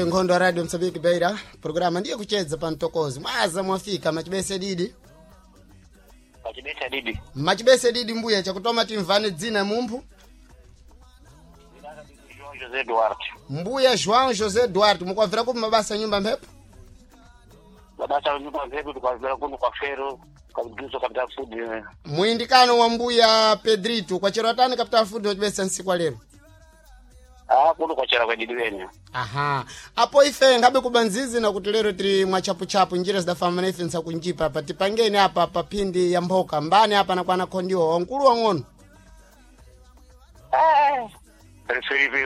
Ife nkhondo ya Radio Msambiki Beira, programa ndiye kucheza pa mtokozi. Mwaza mwafika machibese didi. Pachibesa didi. Machibese didi mbuya chakutoma timvane dzina mumphu. João José Duarte. Mbuya João José Duarte, mukwabvira kupi mabasa nyumba mphepo? Mabasa nyumba mphepo tukwabvira kuno kwa Fero, kwa Capital Food. Muindikano wa mbuya Pedrito kwachero atani Capital Food wachibesa nsiku wa lero. Ah, kuno kwachera kwa didi wene. Aha. Apo ife ngabe kubanzizi na kuti lero tiri mwachapuchapu njira zidafamba na ife nsakunjipa apa tipangeni apa pa phindi ya mphoka mbani apa nakwana khondiwa wankulu wang'ono. Eh. Felipe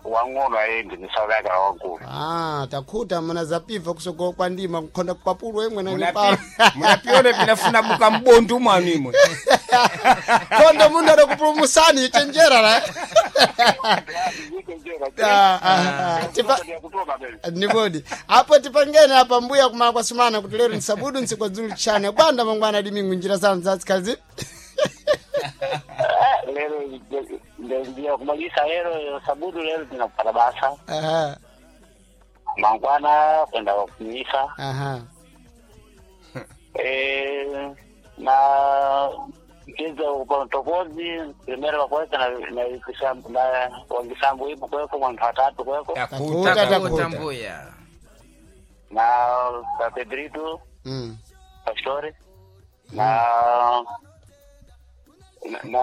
wang'ono ayendi ni South Africa wankulu. Ah, takhuta muna zapiva kusoko kwa ndima kukhonda kwapulu emwe na nyipala. Munapiona pinafuna buka mbondu mwanu imwe. Khondo mundu adakupulumusani chenjera la. Ah, ah, ah. Tipa nibodi apo tipangeni apa mbuya kumala kwa sumana kuti lero nsabudu nsikwa dzulu chane bwanda mangwana dimingu njira zanu zatsikazi. Lero ndio kumalisa lero sabudu lero tinapata basa. Aha. Mangwana kwenda kumisa. Aha. Na mchezo kwa mtokozi primero wakweka na na kisambu na wangisambu ipo kweko mwantu watatu kweko Takuta, Takuta. takuta. mbuya. na pa Pedrito Pastore na na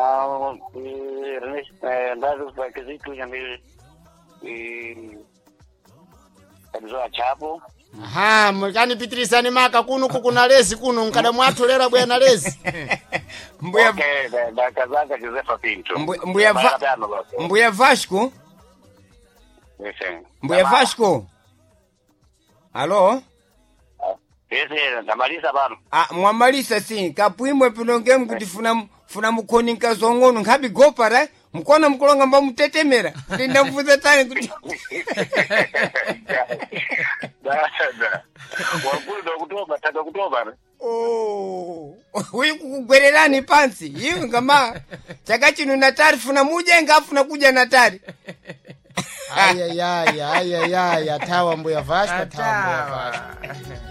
Ernest ndazo pa Kizito nyambi Kabzoa Chapo. Aha, mkanipitirisani maka kuno kukuna lezi kuno nkada mwathu bwana lezi. Mbuya Okay, da kazaka Josefa Pinto. Mbuya Mbuya Vasco, Mbuya Vasco. Alo? Ese ndamalisa pano. Ah, mwamalisa si kapwimwe pinonge mkuti funa funa mukhoni nkazong'ono nkhabi gopara mukona mkulonga mba mutetemera kuti ndamfunza tani kuti Da da. Wakulu dokutoba tadakutoba. Oh, uyu kukugwererani pansi iwe ngama chaka chino natari funa mudya ngafuna kudya natari. Ayayaya, ayayaya, tawa mbuya Vasco, tawa mbuya Vasco. Atawa.